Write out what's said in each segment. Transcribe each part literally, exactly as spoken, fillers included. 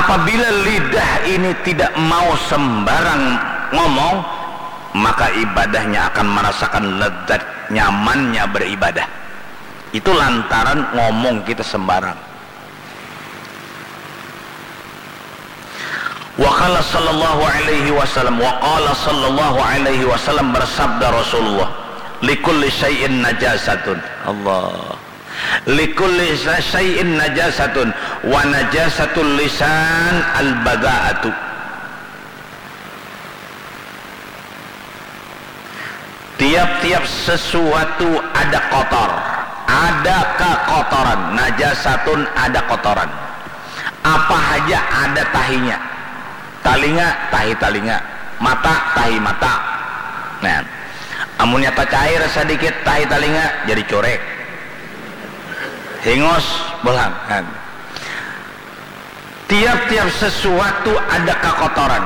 Apabila lidah ini tidak mau sembarang ngomong, maka ibadahnya akan merasakan lezat nyamannya beribadah. Itu lantaran ngomong kita sembarang. Wa qala sallallahu alaihi wasallam, wa qala sallallahu alaihi wasallam, bersabda Rasulullah, "Likulli syai'in najasatun." Allah. "Likulli syai'in najasatun, wa najasatul lisan al-bada'atu." Tiap-tiap sesuatu ada kotor, ada kekotoran, najasatun, ada kotoran. Apa haja ada tahinya. Talinga, tahi talinga. Mata, tahi mata. Nah, amunnya tacair sadikit tahi talinga, jadi curek. Hingos, bolang. Nah. Tiap-tiap sesuatu ada kekotoran.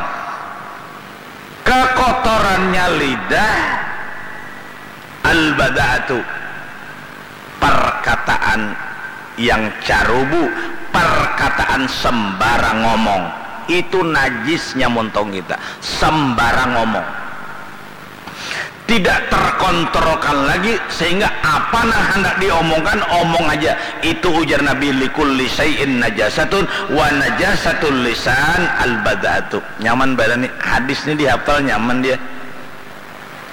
Kekotorannya lidah, al-bada'atu, perkataan yang carubu, perkataan sembarang ngomong. Itu najisnya montong kita, sembarang ngomong. Tidak terkontrolkan lagi, sehingga apa nang handak diomongkan, omong aja. Itu ujar Nabi, "Likulli syai'in najasatun, wa najasatul lisan al-bada'atu." Nyaman badan nih, hadis ini dihafal nyaman dia.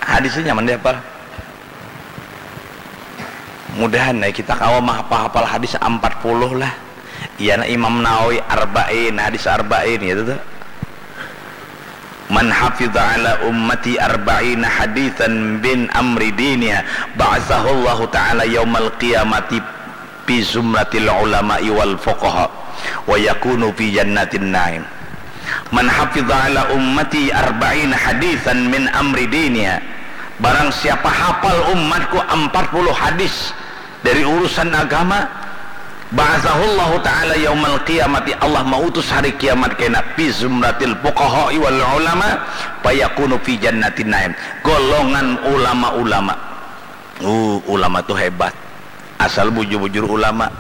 Hadis ini nyaman dihafal. Mudahan ya kita kawa mahapal-hapal hadis ampat puluh lah. Iyana Imam Nawawi Arba'in, hadis Arba'in gitu tuh. "Man hafidha ala ummati arba'ina haditsan min amri diniha, ba'atsahullahu ta'ala yaumal qiyamati fi zumratil ulama'i wal fuqaha, wa yakunu fi jannatin na'im." "Man hafidha ala ummati arba'ina haditsan min amri diniha." Barang siapa hafal umatku ampat puluh hadis dari urusan agama, ba'atsahullahu ta'ala yaumal qiyamati, Allah mautus hari kiamat kena, fi zumratil fuqaha'i wal ulama, fayakunu fi jannatin na'im, golongan ulama-ulama. Uh, ulama tu hebat, asal bujur-bujur ulama.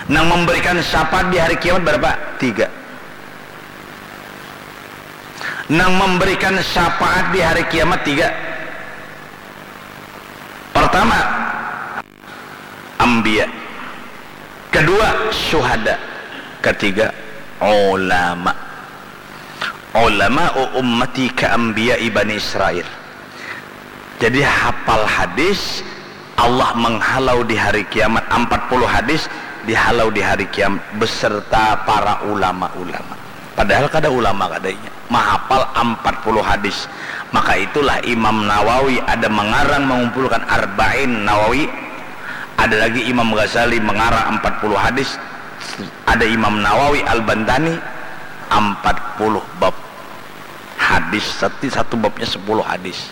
Nang memberikan syafaat di hari kiamat berapa? Tiga. Nang memberikan syafaat di hari kiamat tiga. Pertama, ambiya. Kedua, syuhada. Ketiga, ulama. Ulama ummati ka ambiya Bani Israel. Jadi hafal hadis, Allah menghalau di hari kiamat, ampat puluh hadis dihalau di hari kiamat beserta para ulama-ulama. Padahal kada ulama kadanya, mahapal ampat puluh hadis. Maka itulah Imam Nawawi ada mengarang mengumpulkan Arba'in Nawawi, ada lagi Imam Ghazali mengarang ampat puluh hadis, ada Imam Nawawi Al-Bantani ampat puluh bab hadis, sati-, satu babnya sepuluh hadis.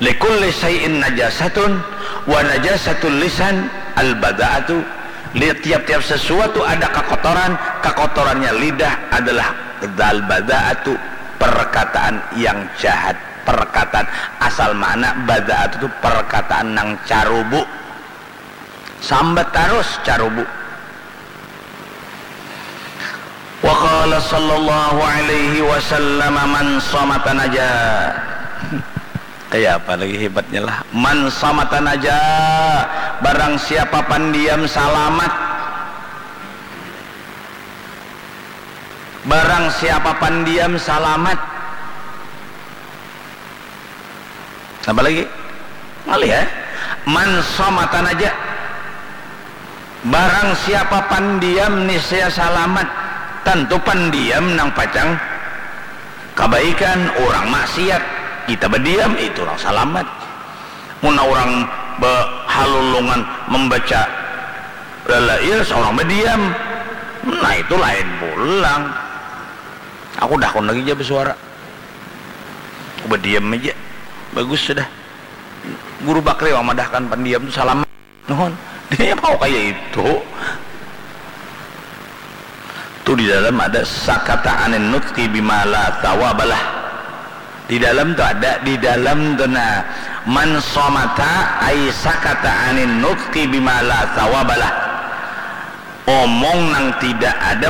"Likulli syai'in najasatun, wa najasatul lisan al-bada'atu." Li-, tiap-tiap sesuatu ada kekotoran, kekotorannya lidah adalah al-bada'atu, perkataan yang jahat, perkataan asal makna bada'atu tu perkataan nang carubu. Sambat tarus carubu. Wa qala sallallahu alaihi wasallam, "Man samata naja." Kayak apa lagi hebatnya lah? "Man samata naja." Barang siapa pandiam salamat. Barang siapa pandiam salamat. Apa lagi? Ngalih ya. "Man samata naja." Barang siapa pandiam niscaya salamat. Tentu pandiam nang pacang kabaikan, urang maksiat. Kita badiam, itu urang salamat. Mun urang behalulungan membaca lalail, seorang badiam. Nah, itu lain pulang. Aku dakun lagi ja besuara. Badiam aja. Bagus sudah. Guru Bakri mamadahkan pandiam tu salamat. Nuhun. Dia mau kaya itu. Tu di dalam ada sakata anin nutqi bima la thawabalah. Di dalam tu ada, di dalam tu nah. Man somata ai sakata anin nutqi bima la thawabalah. Omong nang tidak ada